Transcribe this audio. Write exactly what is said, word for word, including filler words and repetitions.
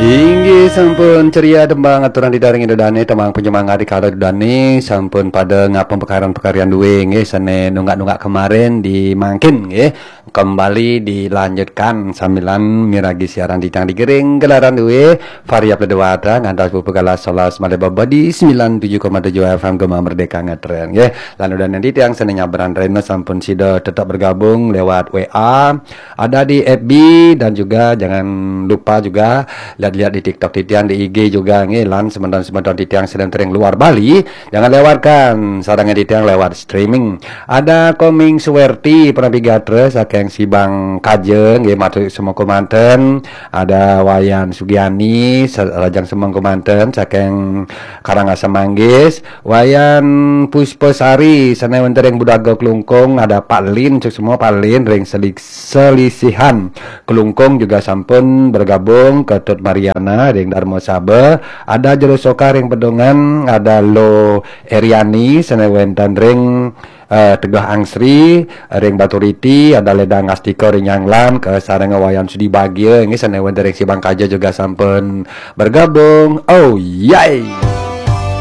Inggih sampun ceria tembang aturan ditaring Indo Dane, tembang penyemangat di kala Indo Dane sampun pada ngapung pekaran-pekarian duwe nggih, sane nunggak-nunggak kemarin di mangkin nggih. Kembali dilanjutkan sambilan miragi siaran titiang di Gering Gelaran duwe, Variap Ledewata ngantos pupuk galah solas malih baba di sembilan tujuh koma tujuh F M Gema Merdeka ngetren nggih. Lan Indo Dane titiang sane nyabran rena sampun sida tetap bergabung lewat W A, ada di F B, dan juga jangan lupa juga lihat-lihat di TikTok titiang, di I G juga nggih, lan semeton-semeton titiang sane tering luar Bali, jangan lewatkan sarangan titiang lewat streaming. Ada Koming Suwerti, Prampi Gatra saking Sibang Kaja nggih, matur semua kemanten. Ada Wayan Sugiani, sa-, Rajang Semeng kemanten saking Karangasem Manggis. Wayan Puspasari, sane wenten ring Budaga Klungkung. Ada Pak Lin, cek semua Pak Lin ring Selik-, Selisihan Klungkung juga sampun bergabung, Ketut Mariana ring Darma Saba. Ada Jero Soka ring Pedungan, ada Lo Eriani sane wenten ring eh, Teguh Angsri ring Baturiti, ada Ledang Astika ring Nyanglan, kasarengin Wayan Sudi Bagia nggih sane wenten ring Sibang Kaja juga sampun bergabung. Oh yay!